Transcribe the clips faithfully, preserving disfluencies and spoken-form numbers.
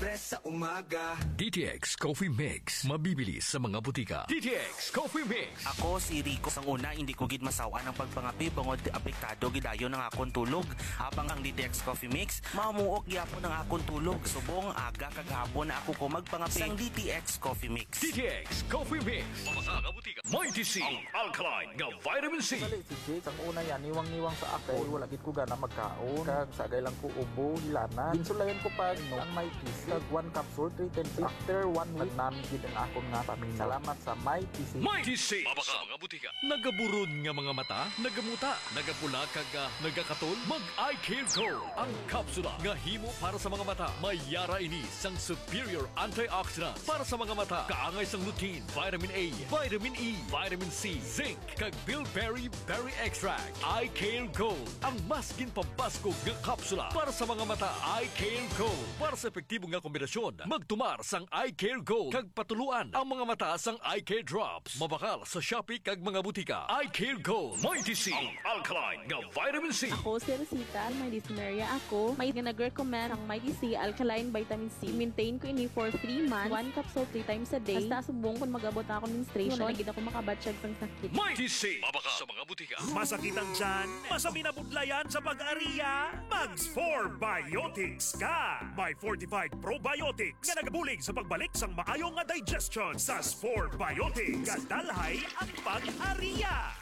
Express sa umaga. D T X Coffee Mix, mabibili sa mga butika. D T X Coffee Mix. Ako si Rico. Sang una, hindi ko gid masaw-an ang pagpangapi bangod apektado gidayon ang akon tulog. Habang ang D T X Coffee Mix, mamuok gyapon ang akon tulog. Subong aga kag hapon na ako ko magpangapi. Sang D T X Coffee Mix. D T X Coffee Mix. Mabasa nga butika. Mighty C, ang alkaline nga vitamin C. Dali si Jake, sang una yan, niwang-niwang sa ako. Wala gid ko gana magkaon. Kag sagay lang ko ubo, hilanat. Ginsulayan ko pa, no, ang Mighty C. Kag one capsule, three times. After one week, nami gid ang akon nga paminaw. Salamat sa Mighty C. Mighty C. Mabasa nga butika. Nagaburon nga mga mata, nagamuta, nagapula, kag, ah, nagakatol? Mag Eye Care Gold, ang kapsula nga himo para sa mga mata. May yara ini sang superior antioxidants para sa mga mata. Kaangay sang lutein, vitamin A, vitamin E, vitamin C, zinc, kag bilberry berry extract. Eye Care Gold, ang mas ginpabaskog nga kapsula para sa mga mata. Eye Care Gold, para sa epektibo nga kombinasyon, magtumar sang Eye Care Gold kag patuluan ang mga mata sang Eye Care Drops. Mabakal sa Shopee kag mga butika. Eye Care Gold, Mighty C, ang alkaline nga vitamin C. Ako si Rosita, may dysmenorrhea ako. May nga nag-recommend ang Mighty C alkaline vitamin C. Maintain ko ini for three months, one capsule three times a day. Hasta subong kung mag-abot na akong menstruation, wala na gid ako makabatsyag sang sakit. Mighty C, mabakal sa mga butika. Masakit ang tiyan? Masabi na budlayan sa pag-ariya? Mag Spore Biotics ka! May fortified probiotics nga nagabulig sa pagbalik sang maayo nga digestion sa Spore Biotics. Gadalhay ang pag-ariya.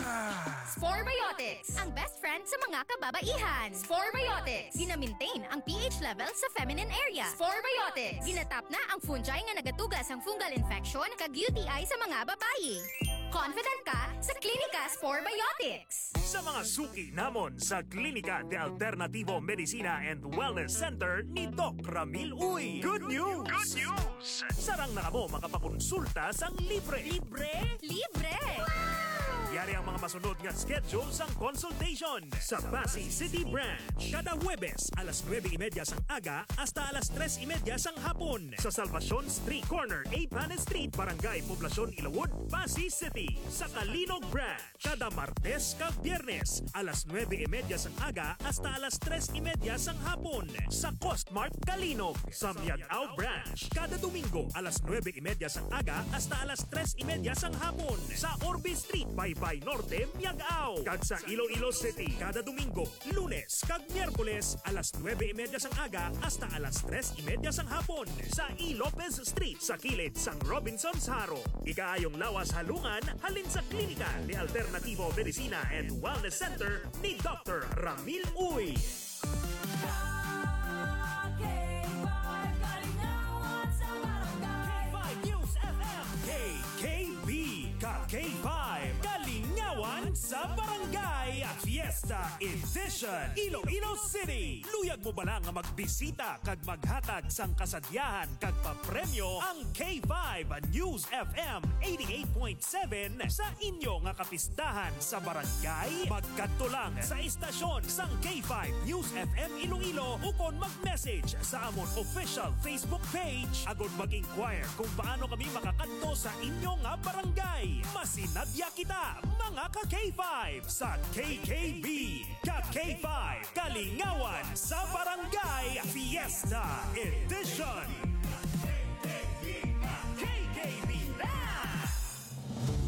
Spore Biotics, ang best friend sa mga kababaihan. Spore Biotics, gina-maintain ang P H level sa feminine area. Spore Biotics, ginatap na ang fungi nga nagatuga sang fungal infection kag U T I sa mga babayi. Confident ka sa Klinika Spore Biotics. Sa mga suki namon sa Klinika de Alternativo Medicina and Wellness Center ni Doc Ramil Uy. Good news! Good news! Sarang na kamo makapakonsulta sang libre. Libre? Libre! Yari ang mga masunod nga schedule sang consultation. Sa Passi City Branch, kada Huwebes, alas nuebe y media sang aga hasta alas tres y media sang hapon. Sa Salvacion Street, corner Eighth Street, Barangay Poblacion, Ilawod, Passi City. Sa Calinog Branch, kada Martes kag Biyernes, alas nuebe y media sang aga hasta alas tres y media sang hapon. Sa Costmart Calinog, sa Miag-ao Branch, kada Domingo, alas nuebe y media sang aga hasta alas tres y media sang hapon. Sa Orbe Street, Baybay Norte, Miag-ao. Kag sa Iloilo City, kada Domingo, Lunes kag Miyerkules, alas nuebe y media sang aga hasta alas tres y media sang hapon, sa E. Lopez Street, sa kilid sang Robinsons Jaro. Ikaayong lawas halungan halin sa Klinika de Alternativo Medicina and Wellness Center ni Doctor Ramil Uy. K five Kalingawan sa Barangay. K five News F M. K K B, ka K five, Kalingawan sa Barangay, Fiesta Edition, Iloilo City. Luyag mo bala nga magbisita kag maghatag sang kasadyahan kag papremyo ang K five News F M eighty-eight point seven sa inyo nga kapistahan sa barangay? Magkadto lang sa estasyon sang K five News F M Iloilo ukon mag-message sa amon official Facebook page agod mag-inquire kung paano kami makakadto sa inyo nga barangay. Masinadya kita, mga ka K five, sa K K B, ka K five, Kalingawan sa Barangay Fiesta Edition. K K B Band!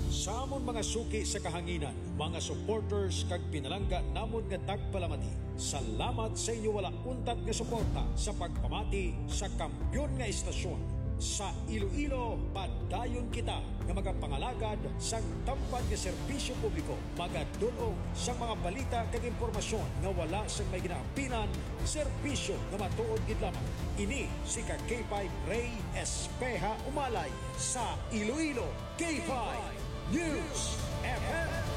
Sa amon mga suki sa kahanginan, mga supporters kag pinalangga namon nga tagpalamati, salamat sa inyo wala untat nga suporta sa pagpamati sa kampiyon nga estasyon. Sa Iloilo, padayon kita nga magapangalagad sang tampad nga serbisyo publiko, magadul-ong sang mga balita kag impormasyon nga wala sang may ginaampinan, serbisyo nga matuod gid lamang. Ini si ka K five Rey Espeha Umalay sa Iloilo, K five News F M.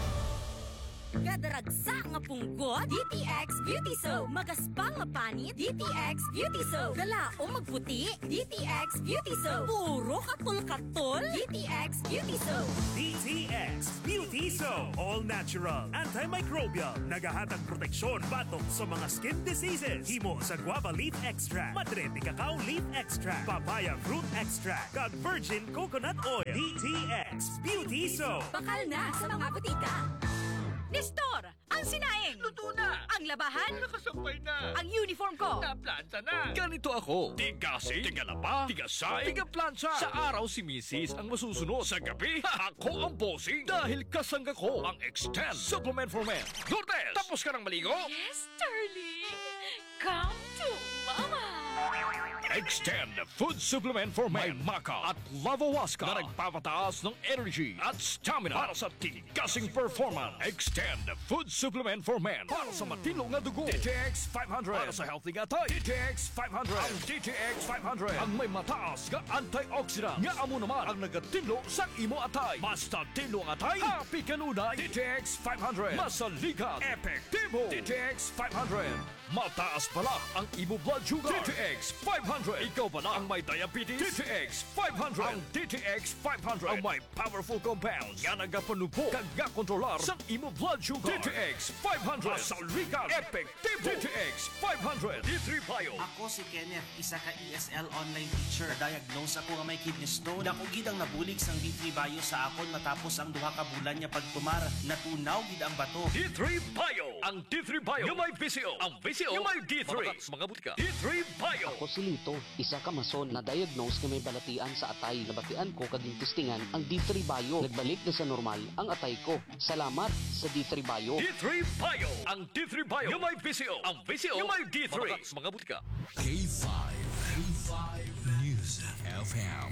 Kadaragsa nga punggot, D T X Beauty Soap. Magaspang nga panit, D T X Beauty Soap. Galaom magputi, D T X Beauty Soap. Puro katol-katol, D T X Beauty Soap. D T X Beauty Soap. All natural, antimicrobial. Nagahatag proteksyon batok sa mga skin diseases. Himo sa guava leaf extract, madre de cacao leaf extract, papaya fruit extract, kag virgin coconut oil. D T X Beauty Soap. Bakal na sa mga butika. Tistor, ang sinaing. Luto na. Ang labahan. Nakasampay na. Ang uniform ko. Naplanta na. Ganito ako. Tigasing, tigalaba, tigasay, tigaplantsa. Sa araw si misis ang masusunod. Sa gabi, ako ang bossing. Dahil kasangga ko ang Extend Supplement for Men. Lourdes, tapos ka ng maligo? Yes, darling. Come to Mama. Extend Food Supplement for Men. May maca at lavawaska na nagpapataas ng energy at stamina para sa tigasing performance. Extend Food Supplement for Men para sa matino nga dugo. D T X five hundred para sa healthy nga atay. D T X five hundred. Ang D T X five hundred ang may mataas nga antioxidant nga amo naman ang nagatinlo sa imo atay. Basta tinlo ang atay, happy kanunay. D T X five hundred. Masaligan, epektibo. D T X five hundred. Mataas bala ang imo blood sugar. D T X five hundred. Ikaw bala ang may diabetes? D T X five hundred. Ang D T X five hundred ang may powerful compounds nga nagapanubo kag gakontrolar sa imo blood sugar. D T X five hundred. Masaligan, epektibo. D T X five hundred. D three Bio. Ako si Kenneth, isa ka E S L online teacher. Diagnose ako nga may kidney stone. Dako gid ang nabulig sang D three Bio sa akon matapos ang duha ka bulan nga pagtumar. Natunaw gid ang bato. D three Bio. Ang D three Bio nga may V C O. Ang V C O nga may D three. Mga butika. D three Bio. Ako si Lito, isa ka mason na diagnose nga may balatian sa atay. Nabatian ko kag gintistingan ang D three Bio. Nagbalik na sa normal ang atay ko. Salamat sa D three Bio. D three Bio. Ang D three Bio nga may V C O. Ang V C O nga may D three. Mga butika. K five, K five News F M,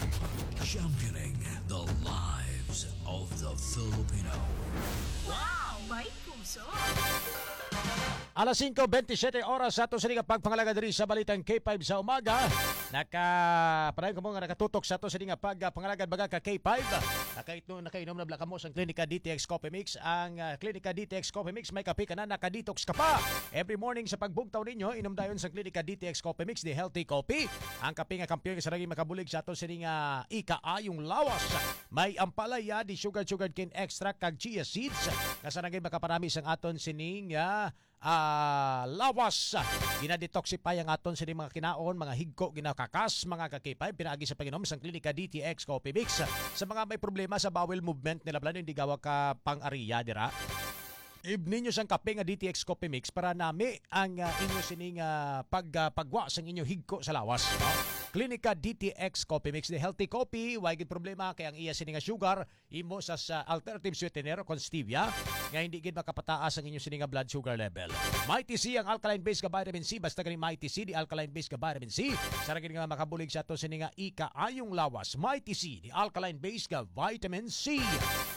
championing the lives of the Filipino. Wow! May puso! Alas singko bentisiete oras sa ato sini nga pagpangalagad diri sa Balitang K five sa umaga. Naka, padayon kamo nga nakatutok sa ato sini nga pagpangalagad, mga ka K five. Nakaitno-, nakainom na bala kamo sang Klinika D T X Coffee Mix. Ang, ah, Klinika D T X Coffee Mix, may kape ka na, naka-detox ka pa. Every morning sa pagbugtaw ninyo, inom dayon sang Klinika D T X Coffee Mix, the healthy coffee. Ang kape nga kampiyon nga sarang makabulig sa ato sini nga ikaayong lawas. May ampalaya, di sugar, sugar cane extract, kag chia seeds. Nga sarang makaparami sang aton sining, ah, ah, lawas. Ginadetoxify ang aton sining mga kinaon, mga higko, ginakakas, mga ka K five, pinaagi sa pag-inom sang Klinika D T X Coffee Mix. Sa mga may problema sa bowel movement nila, plano hindi gawa ka pang-ariya dira. Ibninyo sang kape nga D T X Coffee Mix para nami ang, ah, inyo sining, ah, pag, ah, pagwa sang inyo higko sa lawas, no? Klinika D T X Coffee Mix, the healthy coffee, way gid problema kay ang iya sini nga sugar imo sa, sa alternative sweetener o kon stevia nga hindi gid makapataas ang inyo sini nga blood sugar level. Mighty C ang alkaline base nga vitamin C, basta gani Mighty C, the alkaline base nga vitamin C. Sarang gid nga makabulig sa ato sini nga ikaayong lawas. Mighty C, the alkaline base nga vitamin C.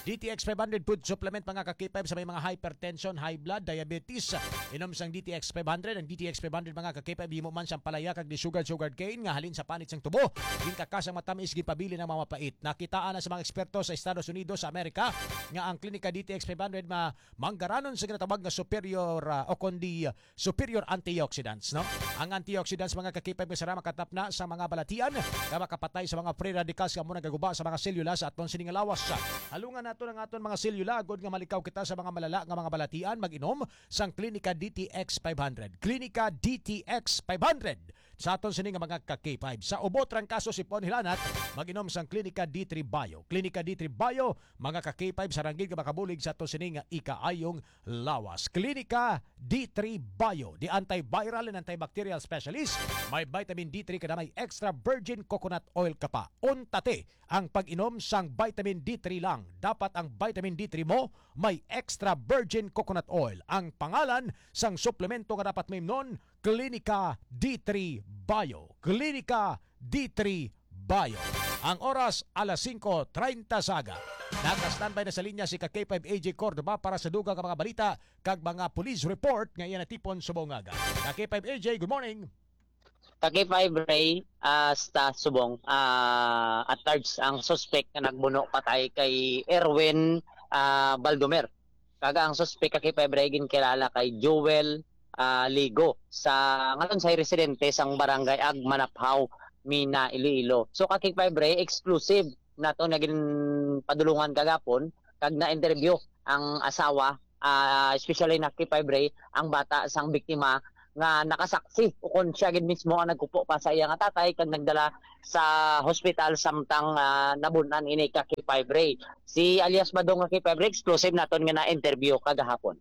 D T X five hundred food supplement, mga ka K five, sa may mga hypertension, high blood, diabetes. Inom sang D T X five hundred. Ang D T X five hundred, mga ka K five, himo man sang palaya kag di sugar, sugar cane nga halin sa panit sang tubo. Ginkakas ang matamis, ginpabilin ang mga mapait. Nakitaan na sa mga eksperto sa Estados Unidos sa Amerika nga ang Klinika D T X five hundred ma-, manggaranon sa ginatawag nga superior, ah, o kundi, ah, superior antioxidants, no? Ang antioxidants, mga ka K five, nga sara makatapna sa mga balatian nga makapatay sa mga free radicals nga amo nagaguba sa mga selula sa aton sining lawas. Halungan nato ang aton mga selula agod nga malikaw kita sa mga malala nga mga balatian. Mag-inom sang Klinika D T X five hundred. Klinika D T X five hundred. Sa aton sini nga mga ka K five, sa ubo, trangkaso, sipon, hilanat, mag-inom sang Klinika D three Bio. Klinika D three Bio, mga ka K five, sarang gid nga makabulig sa aton sini nga ikaayong lawas. Klinika D three Bio, the antiviral and antibacterial specialist. May vitamin D three ka na, may extra virgin coconut oil ka pa. Unta ti ang pag-inom sang vitamin D three lang. Dapat ang vitamin D three mo may extra virgin coconut oil. Ang pangalan sang suplemento nga dapat mo imnon, Klinika D three Bio. Klinika D three Bio. Ang oras, alas singko treinta sa aga. Naka-standby na sa linya si ka K five A J Cordova para sa dugang nga mga balita kag mga police report nga iya natipon subong nga aga. Ka K five A J, good morning. Ka K five Ray, ah, sa subong, ah, at large ang suspect nga nagbuno patay kay Erwin, ah, Baldomer. Kag ang suspect ka K five Ray ginkilala kay Joel, ah, Ligo, sa ngalon sa residente sang barangay Agmanaphaw, Mina, Iloilo. So ka K five Ray, exclusive nato nga ginpadulungan kagapon kag na-interview ang asawa, ah, especially na K five Ray, ang bata sang biktima nga nakasaksi, ukon siya gid mismo ang nagkupo pa sa iya nga tatay kag nagdala sa hospital samtang, ah, nabun-an ini ka K five Ray. Si alias Badong nga K five Ray, exclusive naton nga na-interview kagahapon.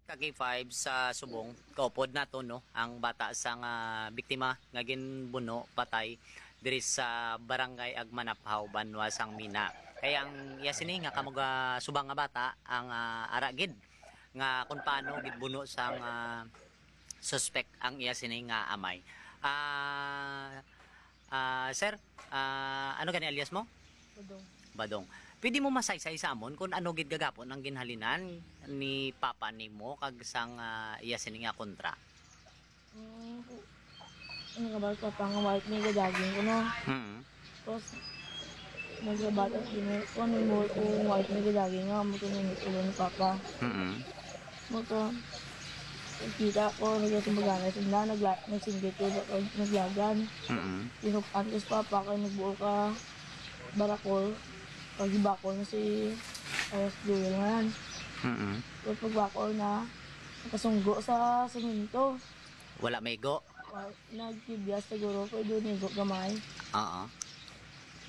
Ka K five sa Subong, kaupod nato, no, ang bata sang biktima nga ginbuno patay diri sa Barangay Agmanaphaw, banwa sang Mina. Kay ang iya sini nga kamuga subang nga bata ang, ah, ara gid nga kung paano gid buno sang, ah, suspek ang iya sini nga amay. Ah, ah, sir, ah, ano gani alias mo? Badong. Badong. Pwede mo masaysay sa amon kung ano gid gagapon ang ginhalinan ni papa nimo kag sang, ah, iya sini nga kontra? Mm, ano nga ba, papa nga white may gadaging ko, no? Mm. Tapos, nagsabata sini, kung ano mo, kung white may gadaging nga, mo ito nangit ulo ni papa. Mm. Mo to, kita ko, nagkasumbagana sila, nagla-, nagsinggit ko, naglagan. Mm. Tinukan ko sa papa, kay nagbuo ka barakol, kag gibakol na si Ayas Joel nga yan. Mm. Tapos pagbakol na, nakasunggo sa semento. Wala may go? Wa-, nagkibya siguro, pero doon nigo gamay. Oo.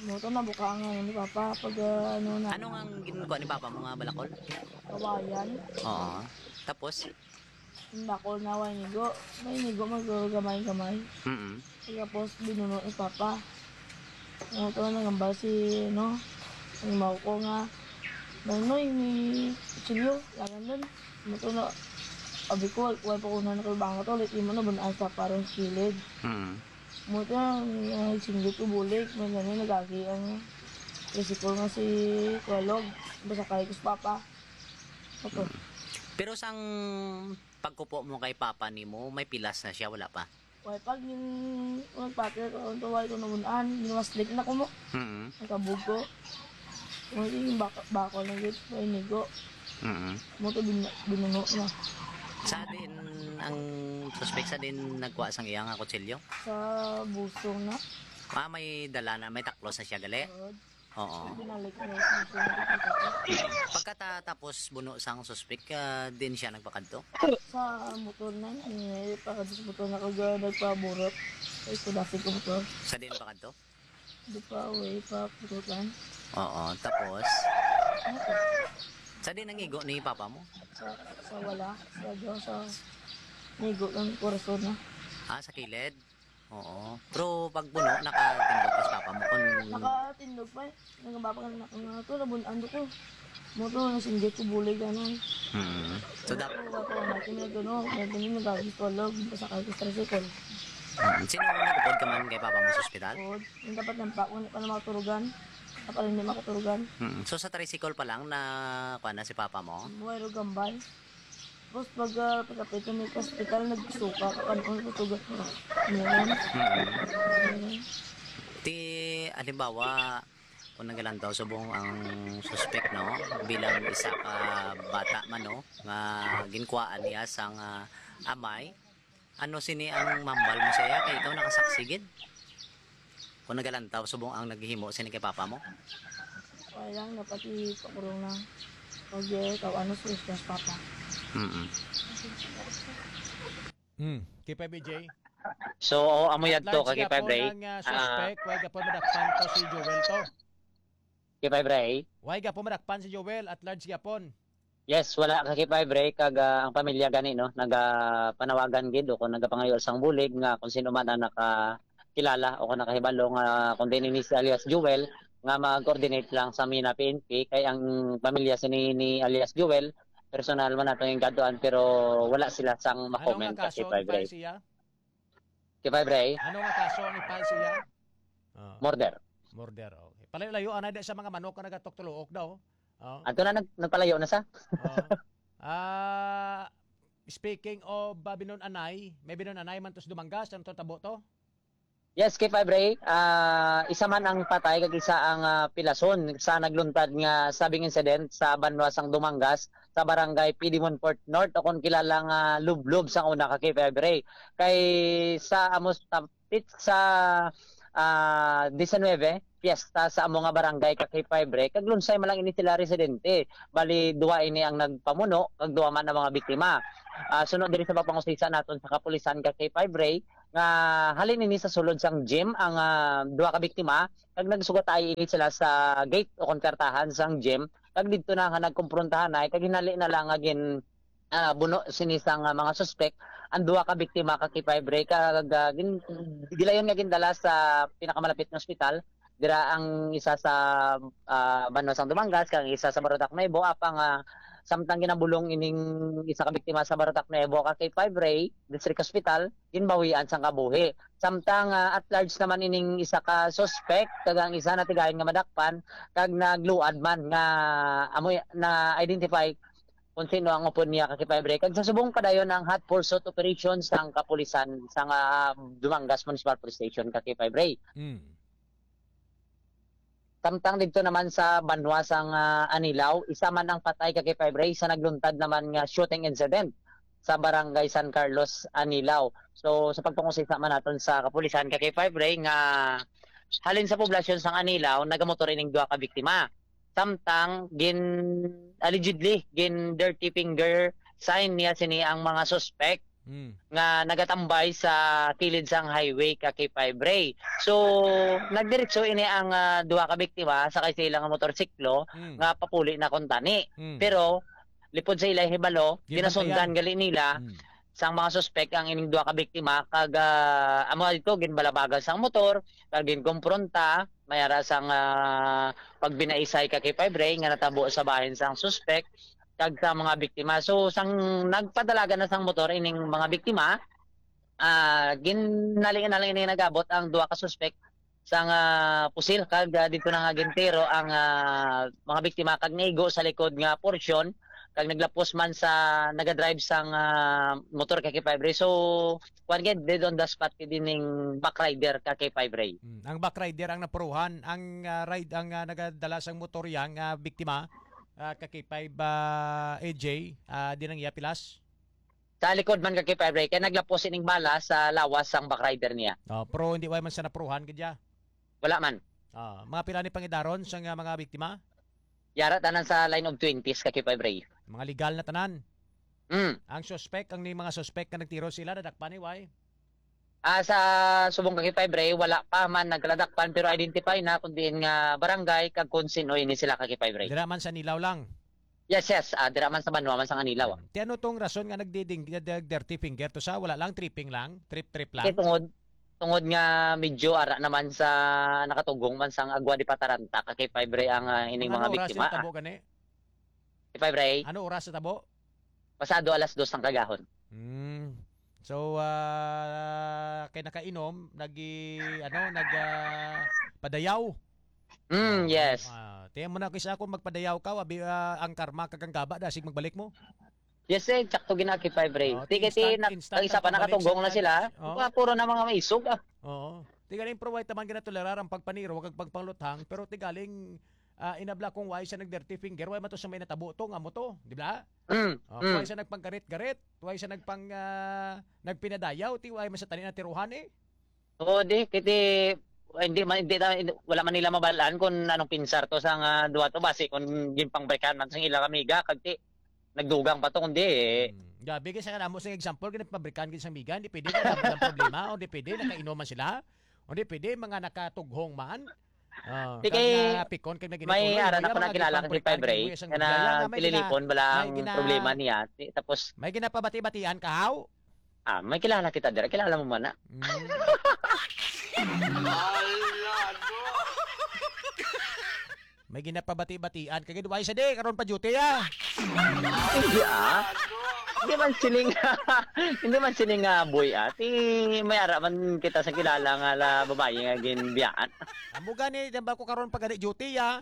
Mo to, nabuka ang ano ni Papa, pag, ah, ano na. Ano nga ang ginkuha ni Papa mo nga balakol? Kawayan. Oo. Tapos? Ang bakol na, way nigo. May nigo, maguro gamay-gamay. Mm. Tapos, binuno ni Papa. Mo to, nangambal si, no, ang maw ko nga, "Nanoy, may kutsilyo, lagan dun." Mo to na, abi ko, wal-, wal pa ko na nakalbanga to, ulit imo na, bunaan sa parang kilid. Mm. Mo to, ang, ang singgit ko bulig, may gani, nagagi ang tricycle nga si Kuya Log, basta kay ko si Papa. Ato. Pero sang pagkupo mo kay Papa nimo, may pilas na siya, wala pa? Wala pa, gin-, nagpatid ko, ang tuwal ko naman, ah, ginwaslik na ko mo. Mm. Nagkabog ko. Wala yung bak-, bakol na gid, may nigo. Mm. Mo to bin-, binuno na. Sa din ang suspek, sa din nagkuha sang iya nga kutsilyo? Sa busong na. Ah, may dala na, may taklos na siya, gali? Oo. Oo. Binalik na yung busong na. Pagkatapos buno sang suspek, ah, din siya nagpakadto? Sa motor na, eh, pagkadto sa motor na kag, ah, nagpaburot. Ay, kudasig ko motor. Sa din pakadto? Di pa, way pa, pututan. Oo, tapos? Ano to? Sa din ang igo ni papa mo? Sa, sa wala. Sa Diyos, sa nigo ng korason na. Ah, sa kilid? Oo. Pero pag puno, nakatindog pa si papa mo. Kung Nakatindog pa eh. Nagababa ka na ako nga to, nabun-an ko. Mo to, nasinggit ko bulig, ano. Hmm. So, dap- Ako, ako, natin na gano, natin yung nagagis ko, log, basta ka, sa tricycle. Hmm. Sino ang nagupod ka man kay papa mo sa ospital? Oo. Yung dapat ng pa, wala pa na makaturugan. Dapat hindi makaturugan. Hmm. So, sa tricycle pa lang na, kuha na si papa mo? Buhay ro gambay. Tapos pag, ah, pagkapit na may hospital, nagsuka ka, kanon ko tuga. Meron. Mm. Ti, halimbawa, kung nagalantaw subong ang suspek, no, bilang isa ka bata man, no, nga ginkuhaan niya sang, ah, amay, ano sini ang mambal mo sa iya? Kay ikaw nakasaksi gid. Kung nagalantaw subong ang naghihimo sini kay papa mo? Wala lang, dapat ipakurong na. Pag, eh, ikaw, ano, sus, sus, papa. Mm-mm. Hmm, K five A J. So, oh, amo At yadto, large ka, K five gyapon Ray. Ang, ah, Ah, suspect, why gyapon madakpan to si Joel to? K five Ray. Why gyapon madakpan si Joel? At large gyapon. Yes, wala ka K five Ray, kag, ah, ang pamilya gani, no, nagapanawagan gid o kung nagapangayo sang bulig nga kung sino man ang nakakilala o kung nakahibalo nga kung din ini si alias Joel, nga mag-coordinate lang sa Mina P N P, kay ang pamilya sini ni alias Joel, personal man nato yung gaduan, pero wala sila sang Ano nga ma-comment sa kaso ang K five Ray. i-file siya? K five Ray? Ano nga kaso ang i-file siya? Ah. Murder. Murder, okay. Palayo-layo, anay di sa mga manok nga nagatuktuluok daw. Oh. Ato na nag-, nagpalayo na sa. Oh. Ah, speaking of, ah, binun-anay, may binun-anay man to sa Dumangas, ano to tabo to? Yes, K five Ray, ah, isa man ang patay kag isa ang, ah, pilason sa nagluntad nga stabbing incident sa banwa sang Dumangas, sa barangay Pidimon Fort North, o kung kilala nga Lublob sang una ka K five Ray. Kay sa amos tapit sa, ah, diecinuebe, piyesta sa amo nga barangay ka K five Ray, kag lunsay man lang ini sila residente. Bali, duha ini ang nagpamuno, kag duha man ang mga biktima. Ah, suno diri sa pagpangusisa naton sa kapulisan ka K five Ray, nga halin ini sa sulod sang gym ang, ah, duha ka biktima, kag nagsugatay ini sila sa gate o kon kwartahan sang gym, kag didto na nga nagkumprontahan na, kag hinali na lang nga gin, ah, buno sini sang, ah, mga suspek ang duha ka biktima ka K five Ray, kag, ah, gin-, gilayon nga gindala sa pinakamalapit nga ospital. Dira ang isa sa, ah, banwa sang Dumangas, kag ang isa sa Barotac Nuevo, apang, ah, samtang ginabulong ining isa ka biktima sa Barotac Nuevo ka K five Ray District Hospital, ginbawian sang kabuhi. Samtang, ah, at large naman ining isa ka suspect, kag ang isa natigayon nga madakpan, kag nagluad man nga amo na-identify kung sino ang upod niya ka K five Ray. Kag sa subong padayon ang hot pursuit operation sang kapulisan sang, ah, Dumangas Municipal Police Station ka K five Ray. Mm. Samtang didto naman sa banwa sang, ah, Anilao, isa man ang patay ka K five Ray sa nagluntad naman nga shooting incident sa Barangay San Carlos, Anilao. So, sa pagpangusisa man naton sa kapulisan ka K five Ray nga halin sa poblasyon sang Anilao, nagamotor ining duha ka biktima. Samtang gin-, allegedly, gin-dirty finger sign niya sini ang mga suspect Mm. nga nagatambay sa kilid sang highway ka K five Ray. So, nagdiretso ini ang, ah, duha ka biktima sakay sa ilang motorsiklo Mm. nga papuli na kuntani. Mm. Pero, lipod sa ilay hibalo, Ginbantayan. ginasundan gali nila Mm. sang mga suspek ang ining duha ka biktima, kag, ah, amo dito, ginbalabagan sang motor, kag ginkompronta, may ara sang, ah, pagbinaisay ka K five Ray nga natabo sa bahin sang suspek kag sa mga biktima. So, sang nagpadalagan na sang motor ining mga biktima, ah, ginali na lang ini nagabot ang duha ka suspek sang, ah, pusil, kag, ah, dito na nga gintiro ang, ah, mga biktima kag naigo sa likod nga porsyon, kag naglapos man sa nagadrive sang, ah, motor ka K five Ray. So, kuwan gid, dead on the spot gid ining backrider ka K five Ray. Mm, ang backrider ang napuruhan, ang, ah, ride, ang, ah, nagadala sang motor yang, ah, biktima, ah, ka K five, ah, A J, ah, di nang iya pilas? Sa likod man ka K five Ray, kay naglapos ining bala sa lawas sang backrider niya. Oh, pero hindi way man sa napuruhan gid ya? Wala man. Ah, mga pila ni pangidaron sa nga mga biktima? Yara tanan sa line of twenties ka K five Ray. Mga legal na tanan. Mm. Ang suspect, ang ni mga suspect nga nagtiro sila, nadakpan ni way? Ah, sa subong ka K five Ray, wala pa man nagkadakpan, pero identify na kung diin nga barangay kag kung sino ini sila ka K five Ray. Dira man sa Anilao lang. Yes, yes. Ah, dira man sa banwa man sang Anilao, ah. Ti ano tong rason nga nagdiding-, nag-dirty finger to sa wala lang tripping lang, trip-trip lang? Kay tungod, tungod nga medyo ara naman sa nakatugong man sang Agua de Pataranta, ka K five Ray ang, ah, ining Ano mga oras biktima, yung tabo ah. gani? K five Ray? Ano oras sa tabo? Pasado alas dos ang kagahon. Hmm. So, ah, kay nakainom, nagi, ano, nag, ah, padayaw. Mm, Oo. yes. Ah, tiyan mo na, kaysa ako magpadayaw ka, abi, ah, ang karma kag ang gaba, dasig magbalik mo. Yes, eh, sakto gina K five Ray. Oh, Sige, ti instant, ti, nak-, instant ang isa ang pa pagbaliksa nakatugong na na. sila. Oh. Wa, puro na mga maisog, ah. Oo. Ti galing provide taman ginatolerar ang pagpaniro kag pagpangluthang, pero ti galing, ah, inabla kung why siya nag-dirty finger, why man to sa may natabo to nga mo to, di ba? Mm, Oh, mm. Why siya nagpanggarit-garit, why siya nagpang, ah, nagpinadayaw, ti why man sa tani natiruhan eh. Oo, di, kiti, hindi man, hindi na, hindi, wala man nila mabalaan kung anong pinsar to sa nga duha to, basi kung ginpangbrikan man sa ila kamiga, kag ti, nagdugang pa to, kundi, eh. Hmm. Gabi, kay sa kanamo, sa example, ginapabrikan gid sa miga, hindi pwede, wala, walang problema, o hindi pwede, nakainom man sila, o hindi pwede, mga nakatughong man. Ah, Di kag kay, napikon, kag may naginitulog, ara na kaya ko mga nakilala kang gipangbrikan, K five Ray, kag isang nga biyaya nga may gina-, nagtililipon, bala may ang gina-, problema niya. Ti-, tapos may ginapabati-batian ka, haw? Ah, may kilala kita dira. Kilala mo man na. Mm. May ginapabati-batian ka gid, why sa di karon pa duty, ah? Hindi, ah. Hindi man sining, hindi man sining, ah, boy, ah. Ti, may ara man kita sa kilala nga la babayi nga ginbiyaan. Amo gani, di ba ko karon pa gani duty, ah?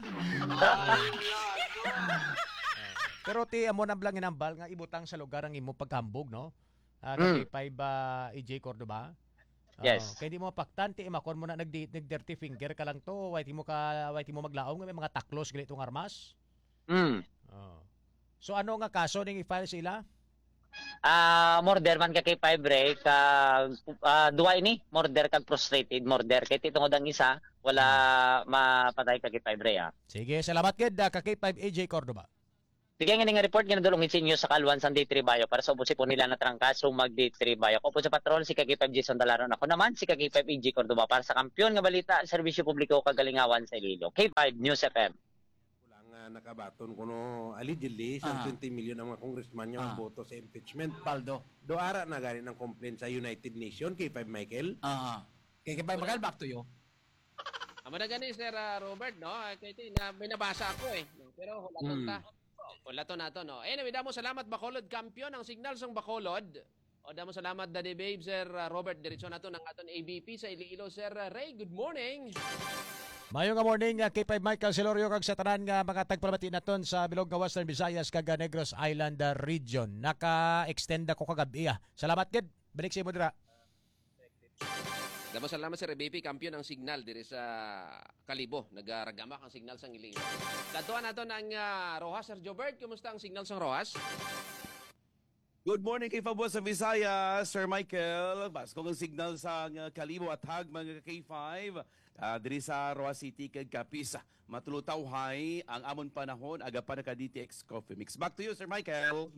Pero ti, amo na lang ginambal nga ibutang sa lugar ang imo paghambog, no? Ah, Mm. Kay five, ah, A J Cordoba. Ah, Yes. Kay di mo mapaktan, ti imakon mo na nagdi-, nag-dirty finger ka lang to. Why ti mo ka, why ti mo maglaom nga may mga taklos gali tong armas? Mm. Oh. So, ano nga kaso ning i-file sa ila? Ah, murder man ka kay five, Ray, ka, ah, duwa ini, murder kag frustrated murder. Kay ti tungod ang isa, wala mapatay ka kay five, Ray, ah. Sige, salamat gid, ah, ka K five A J Cordova. Sige, nga ning report nga nadulong sa inyo sa Kalwan sang D three Bayo para sa ubos sipon nila na trangkaso mag D three Bayo. Ako po sa patrol, si ka K five Jason Dalaron. Ako naman, si ka K five A J Cordova para sa kampiyon nga balita, serbisyo publiko, kagalingawan sa Iloilo. K five News F M. Wala nga nakabaton kuno allegedly sa Ah. twenty million ang mga congressman nga Ah. boto sa impeachment. Paldo. Do ara na gani ng complaint sa United Nation, K five Michael? Ah. K five Michael, back to you. Amo na gani, Sir, ah, Robert, no? Ah, kay ti-, na, may nabasa ako eh. Pero hulaton Hmm. ta. Hulaton nato, no? Anyway, damo salamat, Bacolod. Kampiyon ang signal sang Bacolod. O, damo salamat, Daddy Babe, Sir, ah, Robert. Diretso nato ng aton A B P sa Iloilo, Sir, ah, Ray. Good morning. Mayo nga morning, ah, K five Michael Celorio kag sa tanan nga mga tagpalamati naton sa bilog nga Western Visayas kag, ah, Negros Island, ah, region. Naka-extend ako kagabi, ah. Salamat gid. Balik sa imo dira. Damo salamat, Sir A B P. Kampiyon ang signal diri sa Kalibo. Nagaragamak ang signal sang Iloilo. Kadtuan nato ng, ah, Roxas, Sir Jobert. Kumusta ang signal sang Roxas? Good morning kay Fabua sa Visayas, Sir Michael. Baskog ang signal sang, ah, Kalibo at Hag, mga K five, ah, diri sa Roxas City kag Capiz. Matulutawhay ang amon panahon, aga pa naka D T X Coffee Mix. Back to you, Sir Michael.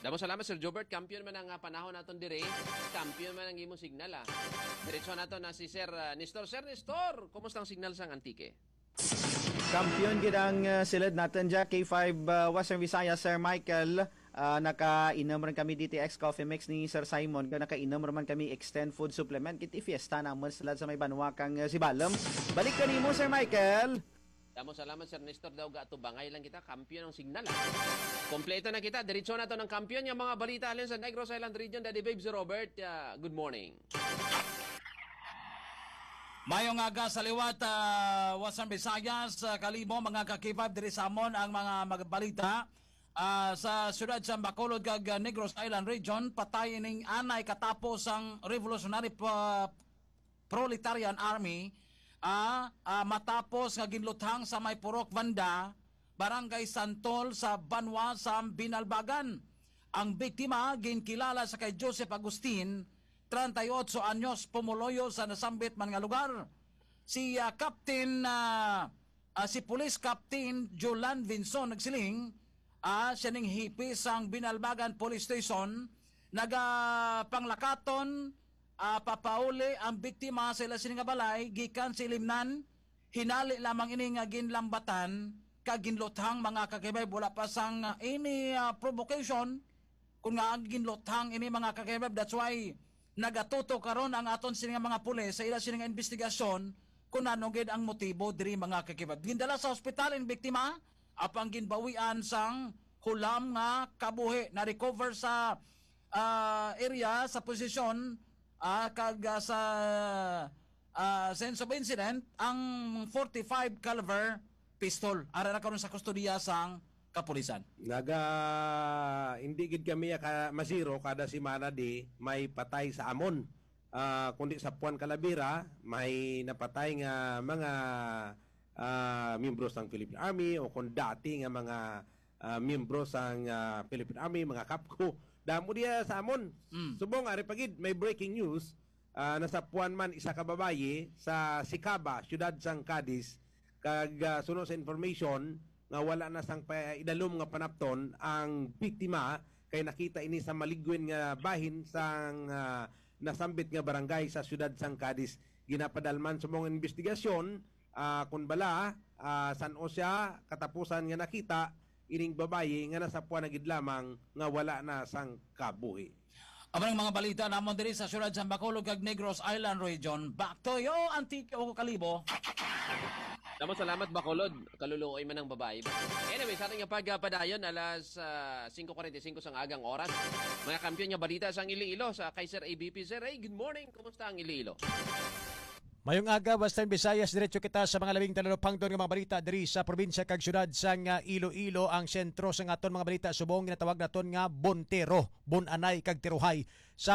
Damo salamat, Sir Jobert. Kampiyon man ang, ah, panahon naton dire. Kampiyon man ang imong signal, ah. Diretso nato na si Sir, ah, Nestor. Sir Nestor, kumusta ang signal sang Antique? Kampiyon gid ang, ah, silid natin dya, K five, ah, Western Visayas, Sir Michael. Ah, nakainom rin kami D T X Coffee Mix ni Sir Simon. Kaya nakainom rin man kami Extend Food Supplement. Kiti fiesta naman sila sa may banwa kang, ah, Sibalom. Balik ka nimo, Sir Michael. Damo salamat, Sir Nestor. Daw gatubangay lang kita. Kampiyon ang signal, ah. Kompleto na kita. Diretso na to ng kampiyon yung mga balita halin sa Negros Island Region. Daddy Babes Robert, ah, good morning. Mayong aga sa liwat, ah, Western Visayas, ah, Kalibo, mga ka-K five, diri sa amon ang mga magbalita. Ah, sa siyudad sa Bacolod kag, ah, Negros Island Region, patay ining anay katapos ang Revolutionary Pa-, Proletarian Army, ah, ah, matapos nga ginluthang sa may Purok Vanda, Barangay Santol sa banwa sa Binalbagan. Ang biktima ginkilala sa kay Joseph Agustin, treinta y ocho anyos, pumuluyo sa nasambit man nga lugar. Si, ah, Captain, ah, ah, si Police Captain Jolan Vinson nagsiling, ah, siya ning hipi sang Binalbagan Police Station, nagapanglakaton, ah, papauli ang biktima sa ila sini nga balay gikan sa Ilimnan. Hinali lamang ini nga ginlambatan kag ginluthang, mga kakibay, wala pa sang, ah, ini, ah, provocation. Kung nga ang ginluthang ini, mga kakibab, that's why nagatuto karon ang aton sini nga mga pulis sa ila sini nga investigasyon kung ano gid ang motibo diri, mga kakibab. Gindala sa ospital ang biktima, apang ginbawian sang hulam nga kabuhi. Na-recover sa, ah, area, sa posisyon, ah, kag, ah, sa, ah, sense of incident ang forty-five caliber pistol. Ara na karon sa kustodiya sang kapulisan. Naga, hindi gid kami ka, masiro kada semana di may patay sa amon. Ah, kundi sa Puan Calavera, may napatay nga mga, ah, miyembro sang Philippine Army o kung dati nga mga, ah, miyembro sang, ah, Philippine Army, mga kapko. Damo diya sa amon. Mm. Subong, ari pa gid, may breaking news. Ah, nasapuan man isa ka babayi sa Sicaba, siyudad sang Cadiz, kag, ah, suno sa information nga wala na sang pa-, idalom nga panapton ang biktima, kay nakita ini sa maligwin nga bahin sang, ah, nasambit nga barangay sa siyudad sang Cadiz. Ginapadalman sa mga investigasyon, ah, kun bala, ah, san-o siya katapusan nga nakita ining babayi nga nasapuan na gid lamang nga wala na sang kabuhi. Amo ang mga balita namon diri sa siyudad sa Bacolod kag Negros Island Region. Back to you, Antique o Kalibo. Damo salamat, Bacolod. Kaluluoy man ang babayi. Anyway, sa ating pagpadayon, alas, ah, singko kuwarenta y singko sang agang oras. Mga kampiyon nga balita sang Iloilo sa kay Sir A B P. Sir, hey, good morning. Kumusta ang Iloilo? Mayong aga, Western Visayas. Diretso kita sa mga labing talupangton nga mga balita diri sa probinsya kag syudad sang, ah, Iloilo, ang sentro sang aton mga balita subong ginatawag naton nga Buntero, Bunanay kag Tiruhay. Sa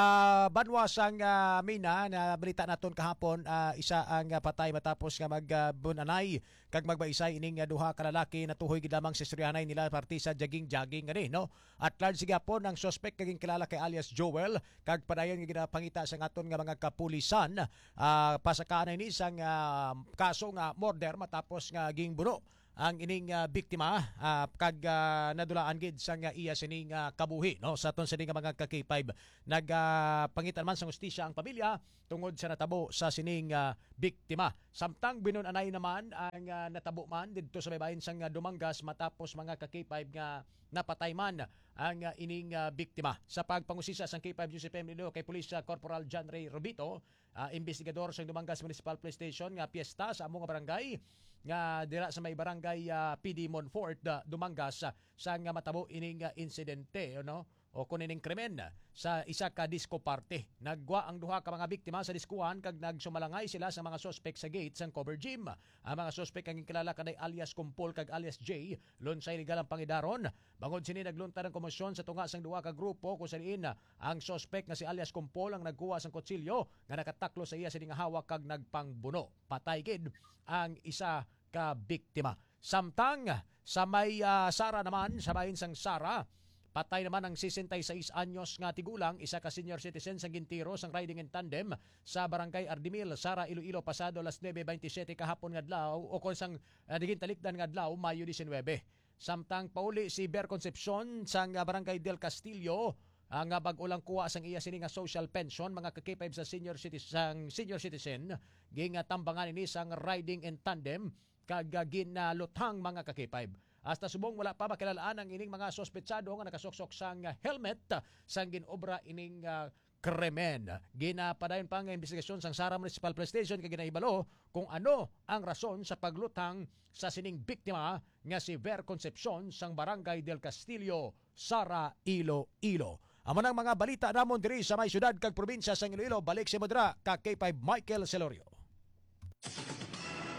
banwa sang, ah, Mina, na balita naton kahapon, ah, isa ang, ah, patay matapos nga mag, ah, bunanay kag magbaisay ining, ah, duha ka lalaki. Natuhoy gid lamang sa istoryahanay nila parte sa jogging-jogging gani, no? At large gihapon ang suspect nga ginkilala kay alias Joel, kag padayon nga ginapangita sa aton nga mga kapulisan, ah, pasakaanay ni sang, ah, kaso nga murder matapos nga gingbuno ang ining, ah, biktima, ah, kag, ah, nadulaan gid sang, ah, iya sining, ah, kabuhi, no? Sa aton sini nga mga ka-K five, nag, ah, pangita naman sang hustisya ang pamilya tungod sa natabo sa sining, ah, biktima. Samtang binun-anay naman ang, ah, natabo man didto sa baybayon sang, ah, Dumangas matapos mga ka-K five nga napatay man ang, ah, ining, ah, biktima. Sa pagpangusisa sang K five News F M Iloilo kay Police, ah, Corporal John Ray Robito, ah, investigador sang Dumangas Municipal Police Station nga piyesta sa amo nga barangay nga dira sa may barangay, ah, P D Monfort, ah, Dumangas, ah, sang, ah, matabo ining, ah, insidente, no? O kun ining krimen, ah, sa isa ka disco party. Naggwa ang duha ka mga biktima sa diskuhan kag nagsumalangay sila sa mga suspek sa gate sang cover gym. Ang mga suspek ang ginkilala kanay alias Kumpol kag alias J. Lunsay legal ang pangidaron. Bangod sini, nagluntar ang komosyon sa tunga sang duha ka grupo, kung sa diin, ah, ang suspek nga si alias Kumpol ang nagkuha sang kutsilyo nga nakataklo sa iya sini nga hawak kag nagpangbuno. Patay gid ang isa ka biktima. Samtang sa may, ah, Sara naman, sa bahin sang Sara, patay naman ang sesenta y seis anyos nga tigulang, isa ka senior citizen sang gintiro sang riding in tandem sa Barangay Ardimil, Sara, Iloilo, pasado alas nuebe bentisiete kahapon nga adlaw, o kon sang, ah, naging talikdan nga adlaw, Mayo disinwebe. Samtang pauli si Ber Concepcion sang, ah, Barangay Del Castillo, ah, nga bag-o lang kuha sang iya sini nga social pension, mga ka-K five, sa senior citi-, sang senior citizen, gintambangan ini sang riding in tandem kag, ah, ginaluthang, mga ka-K five. Hasta subong wala pa makilal-an ang ining mga suspetsado nga nakasuksok sang helmet sang ginobra ining, ah, krimen. Ginapadayon pa nga investigasyon sang Sara Municipal Police Station kag ginahibalo kung ano ang rason sa pagluthang sa sining biktima nga si Ver Concepcion sang Barangay Del Castillo, Sara, Iloilo. Amo nang mga balita namon diri sa may syudad kag probinsya sang Iloilo. Balik sa imo dira ka K five Michael Celorio.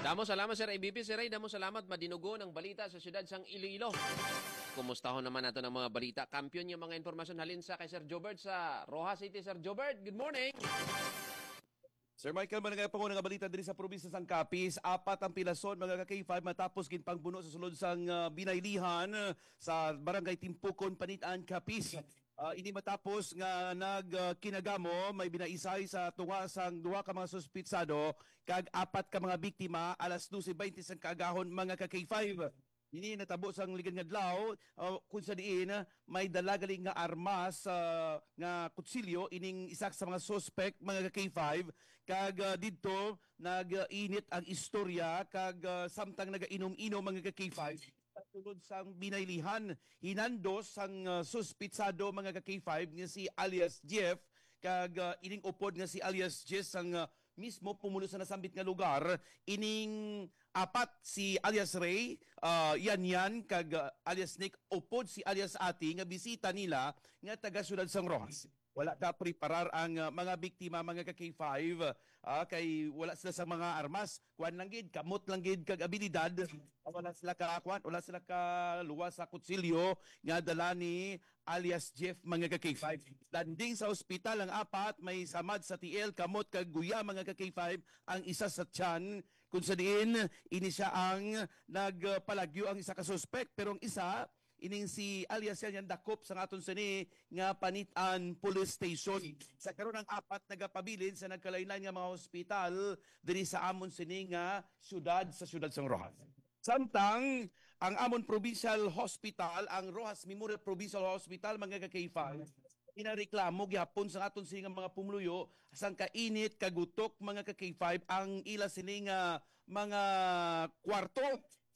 Damo salamat, Sir A B P. Sir Ray, damo salamat. Madinugo ang balita sa siyudad sang Iloilo. Kumustahon naman nato ang mga balita. Kampiyon yung mga impormasyon halin sa kay Sir Jobert sa Roxas City. Sir Jobert, good morning. Sir Michael, managay pa ko nga balita diri sa probinsya sang Capiz. Apat ang pilason, mga ka-K five, matapos ginpangbuno sa sulod sang, ah, Binaylihan, ah, sa Barangay Timpukon, Panitan, Capiz. Ah, ini matapos nga nag, ah, kinagamo, may binaisay sa tunga sang duha ka mga suspitsado kag apat ka mga biktima alas dose baynte sang kaagahon, mga ka-K five. Ini natabo sang ligad nga adlaw, ah, kung sa diin, ah, may dala gali nga armas, ah, nga kutsilyo ining isa sa mga suspect, mga ka-K five, kag, ah, didto nag-init ang istorya kag, ah, samtang nagainom-inom, mga ka-K five, sa sulod sang Binaylihan, hinandos sang, ah, suspitsado, mga ka-K five, nga si alias Jeff, kag, ah, ining upod nga si alias Jess sang, ah, mismo pumulo sa nasambit nga lugar. Ining apat, si alias Ray, ah, Yan Yan, kag, ah, alias Nick, upod si alias Ati nga bisita nila nga taga siyudad sang Roxas. Wala ka preparar ang, ah, mga biktima, mga ka-K five, ah, kay wala sila sa mga armas. Kuan lang gid, kamot lang gid kag abilidad. Wala sila ka, kuan, wala sila ka luwas sa kutsilyo nga dala ni alias Jeff, mga ka-K five. Landing sa ospital ang apat, may samad sa tiil, kamot kag guya, mga ka-K five, ang isa sa tiyan, kung sa diin ini siya ang nagpalagyo ang isa ka suspek, pero ang isa, ining si alias Yan Yan, dakop sa aton sini nga Panitan Police Station. Sa karon, ang apat nagapabilin sa nagkalain-lain nga mga hospital diri sa amon sini nga syudad, sa syudad sang Roxas. Samtang ang amon provincial hospital, ang Roxas Memorial Provincial Hospital, mga ka-K five, ginareklamo gihapon sa aton sini nga mga pumuluyo sang kainit, kagutok, mga ka-K five, ang ila sini nga mga kwarto.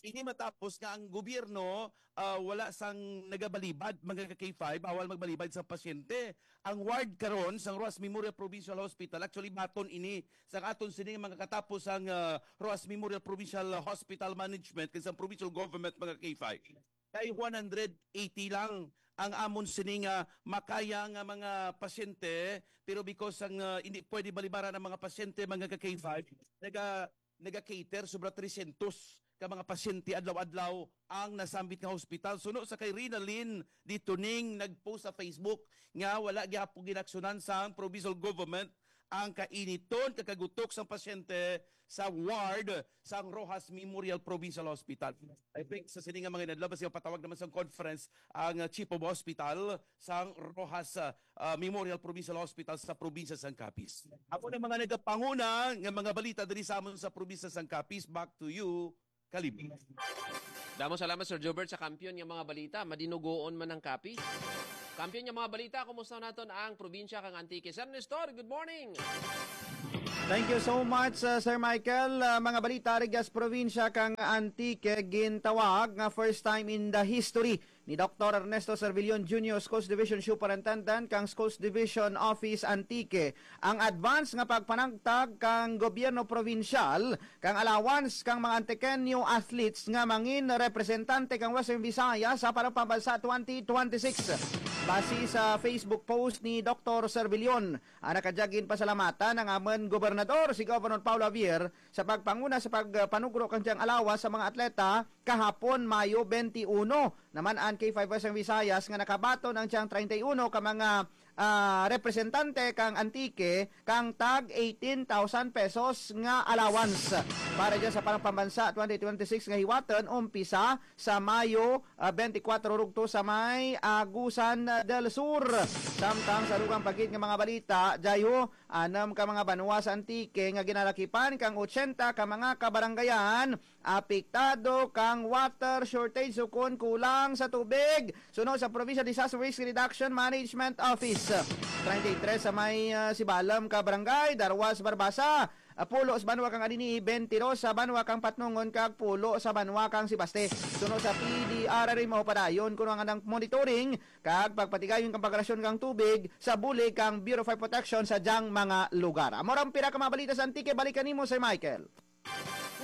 Ini matapos nga ang gobyerno, ah, wala sang nagabalibad, mga ka-K five, bawal magbalibad sa pasyente. Ang ward karon sang Roxas Memorial Provincial Hospital, actually, baton ini sa aton sining mga katapos ang, ah, Roxas Memorial Provincial Hospital Management kag sa provincial government, mga ka-K five. Kay one hundred eighty lang ang amon sini nga makaya nga mga pasyente, pero because ang, ah, hindi pwede balibaran ang mga pasyente, mga ka-K five, naga-, naga-cater sobra tresyentos ka mga pasyente adlaw-adlaw ang nasambit nga hospital. Suno sa kay Rinalyn Ditoning nag-post sa Facebook nga wala gyapon ginaksyonan sang provincial government ang kainiton kag kagutok sang pasyente sa ward sang Roxas Memorial Provincial Hospital. I think sa sini nga mga inadlaw, basi mapatawag naman sang conference ang, uh, Chief of Hospital sang Roxas, uh, uh, Memorial Provincial Hospital sa probinsya sang Capiz. Amo na mga nagapanguna nga mga balita diri sa amon sa probinsya sang Capiz. Back to you, Kalib. Damo salamat, Sir Jobert, sa kampiyon nga mga balita. Madinugoon man ang Capiz. Kampiyon nga mga balita, kumusta naton ang probinsya kang Antique? Sir Nestor, good morning. Thank you so much, uh, Sir Michael. Uh, mga balita, Rigas probinsya kang Antique, gintawag nga first time in the history ni Doktor Ernesto Servillon Junior, Schools Division Superintendent kang Schools Division Office Antique, ang advance nga pagpanagtag kang gobyerno probinsyal kang allowance kang mga Antiqueño athletes nga mangin representante kang Western Visayas sa Parang Pambansa twenty twenty-six. Basi sa Facebook post ni Doktor Servillon, ang nakadyag ginpasalamatan ang amon gobernador, si Governor Paolo Javier, sa pagpanguna sa pagpanugro kang diyang allowance sa mga atleta kahapon, Mayo twenty-one. Naman ang K five Western Visayas nga nakabaton ang diyang treinta y uno ka mga, ah, representante kang Antique kang tag eighteen thousand pesos nga allowance para dyan sa Parang Pambansa twenty twenty-six nga hiwaton umpisa sa Mayo, ah, twenty-four rugto sa may Agusan del Sur. Samtang sa dugang pa gid nga mga balita, dyayo, anam ka mga banwa sa Antique nga ginalakipan kang ochenta ka mga kabarangayan apektado kang water shortage ukon kulang sa tubig. Suno sa Provincial Disaster Risk Reduction Management Office, treinta y tres sa may, ah, Sibalom ka barangay, darwa sa Barbaza, ah, pulo sa banwa kang Anini-y, twenty-two sa banwa kang Patnongon, kag pulo sa banwa kang Sebaste. Suno sa P D R R M, padayon kuno ang anang monitoring kag pagpatigayon kang pagrelasyon kang tubig sa bulig kang Bureau of Fire Protection sa dyang mga lugar. Amo ra ang pira ka mga balita sa Antique. Balik kanimo, Sir Michael.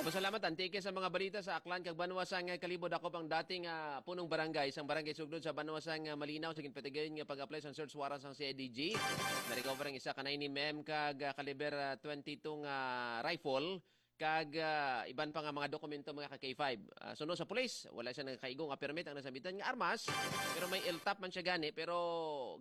Salamat, Antique, sa mga balita sa Aklan kag banwa sang Kalibo. Dakop ang dating, ah, punong barangay sang Barangay Sugnod sa banwa sang, ah, Malinaw sa ginpatigayon nga pag-apply sang search warrant sang C I D G. Na-recover ang isa ka nine M M kag, ah, caliber, ah, twenty-two nga rifle kag, ah, iban pa nga mga dokumento, mga ka K five. Ah, suno sa pulis, wala siya nagakaigo nga permit ang nasambitan nga armas, pero may L T O P man siya gani, pero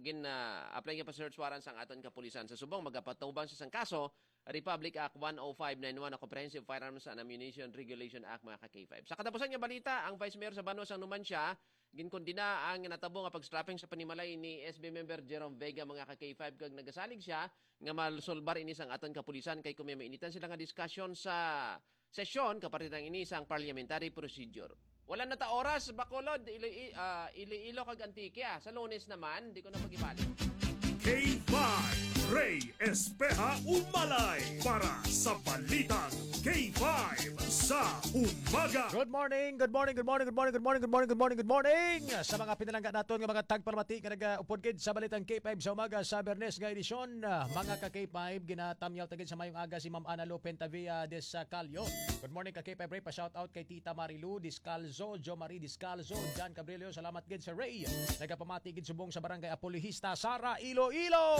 gin, ah, apply nga pa search warrant sang aton kapulisan. Sa subong, magapatubang siya sang kaso, Republic Act one oh five nine one, o Comprehensive Firearms and Ammunition Regulation Act, mga ka K five. Sa katapusan nga balita, ang Vice Mayor sa banwa sang Numancia ginkondena ang natabo nga pag-strapping sa panimalay ni S B member Jerome Vega, mga ka K five, kag nagasalig siya nga masulbar ini sang aton kapulisan kay kung may mainitan sila nga diskusyon sa sesyon, kapartihan ini sang parliamentary procedure. Wala na ta oras, Bacolod, Ilo-, ah, Iloilo kag Antique, ah. Sa Lunes naman, di ko na pag-ibalik. K five, Rey Espeha Umalay para sa Balitang K five sa Umaga. Good morning, good morning, good morning, good morning, good morning, good morning, good morning, good morning. Sa mga pinalangga naton nga mga tagpalamati nga nagaupod gid sa Balitang K five sa Umaga sa Biyernes nga edisyon, ah, mga ka K five, ginatamyaw ta gid sa mayong aga si Ma'am Ana Lu Pentavia Descalio. Good morning ka K five Ray, pa-shout out kay Tita Marilu Descalzo, Jo Marie Descalzo, John Cabrillo, salamat gid, Sir Ray. Nagapamati gid subong sa Barangay Apolihista, Sara, Iloilo.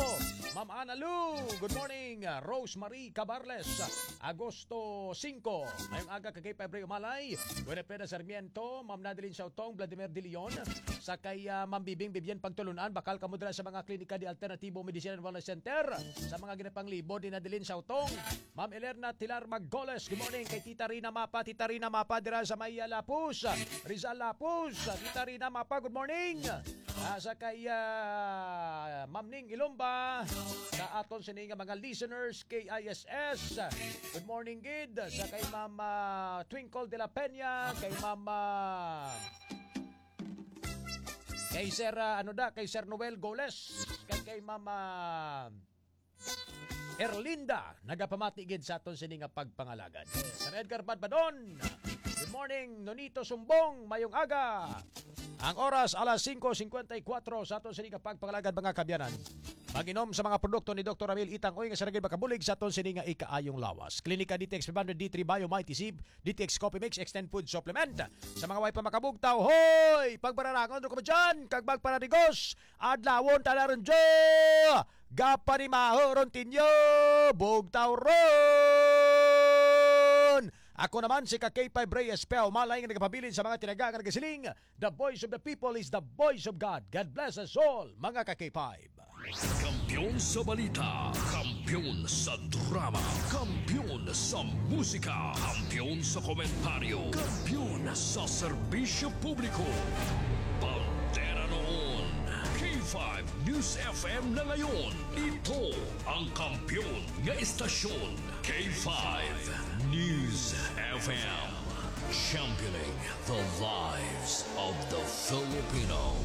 Ma'am Ana Lu, good morning. Rose Marie Cabarles, Agosto singko. Mayong aga ka K five Ray Umalay. Winifreda Sarmiento, Ma'am Nadeline Sautong, Vladimir De Leon, sa kay, ah, Ma'am Bibing Vivian Pagtulunan, bakal kamo dira sa mga klinika di Alternatibo Medicine and Wellness Center, sa mga ginapanglibod ni Nadeline Sautong. Ma'am Elerna Tilar Maggoles, good morning kay Tita Rina Mapa, Tita Rina Mapa dira sa may, ah, Lapus, Rizal Lapus. Tita Rina Mapa, good morning. Ah, sa kay, ah, Ma'am Ning Ilumba, sa aton sini nga mga listeners, K I S S. Good morning gid sa kay Ma'am, ah, Twinkle de la Peña, kay Ma'am, ah, kay Sir, ah, ano da, kay Sir Noel Goles, kag kay Ma'am, ah, Erlinda, nagapamati gid sa aton sini nga pagpangalagad. Sir Edgar Badbadon, good morning. Nonito Sumbong, mayong aga. Ang oras, alas singko singkwenta y kuwatro sa aton sini nga pagpangalagad, mga kabyanan. Mag-inom sa mga produkto ni Doktor Ramil Itang Uy nga sila gid makabulig sa aton sini nga ikaayong lawas. Klinika D T X five hundred D three Bio Mighty Sib, D T X Coffee Mix, Extend Food Supplement. Sa mga way pa makabugtaw, hoy! Pagbararangon ro kamo dyan, kag magpanadigos! Adlawon ta na ron, jo! Gapanimaho ron tinyo! Bugtaw ron! Ako naman si ka K five Reyes Peo Malay nga nagapabilin sa mga tinaga nga nagasiling, "The voice of the people is the voice of God." God bless us all, mga ka K five. Kampiyon sa balita, kampiyon sa drama, kampiyon sa musika, kampiyon sa komentaryo, kampiyon sa serbisyo publiko. Bandera noon, K five News F M na ngayon. Ito ang kampiyon nga istasyon, K five News F M. Championing the lives of the Filipino.